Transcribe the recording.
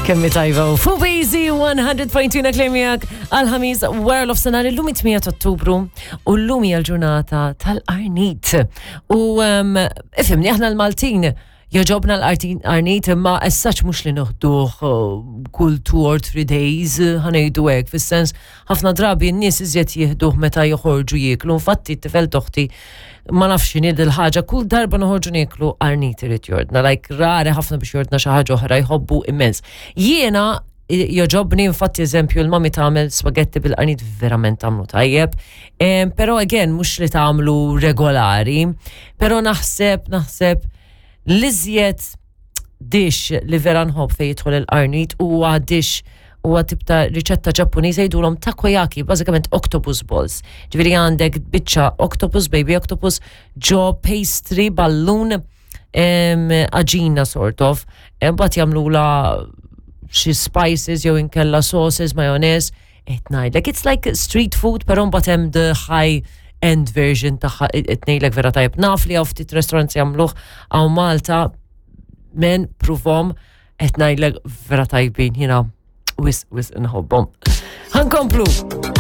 Kemmi tajba u fuq Easy 100.2 klemijak għal-ħamis wara l-ofsenar illum 8 ta' Ottubru u llum hija l-ġurnata tal-Arnit. U um, ifhimni aħna l-Maltin Jogħġobna l-qarnit imma as such mhux li noħduh uh, kull two or three days uh, ħanejdu hekk fis-sens ħafna drabi n-nies iżjed jieħduh meta joħorġu jieklu. Infatti t-tifel toħti ma nafx x'inhi dil-ħaġa kull darba noħorġu nieklu qarnit irid jordna, like rari ħafna biex jordna xi ħaġa oħra jħobbu immens. Jiena joġobni infatti eżempju l-mami tagħmel spagetti bil-qarnit verament tagħmlu tajjeb. Però again mhux li tagħmlu regolari, però naħseb naħseb l-iżjed dish li vera nħobb fejn jidħol il-qarnit huwa dish huwa tip ta' riċetta Ġappuniża jgħidulhom takoyaki, bażikament octopus balls. Ġifieri għandek biċċa octopus, baby octopus, ġo pastry ballun għaġina sort of, mbagħad jagħmlula xi spices jew inkella sauces, mayonnaise, qed ngħidlek it's like street food però mbagħad hemm the high end version tagħha qed ngħidlek vera tajjeb. Naf li hawn ftit restaurants jagħmluh hawn Malta men pruvhom qed ngħidlek vera tajbin jiena wis wis nħobbhom. Ħankomplu.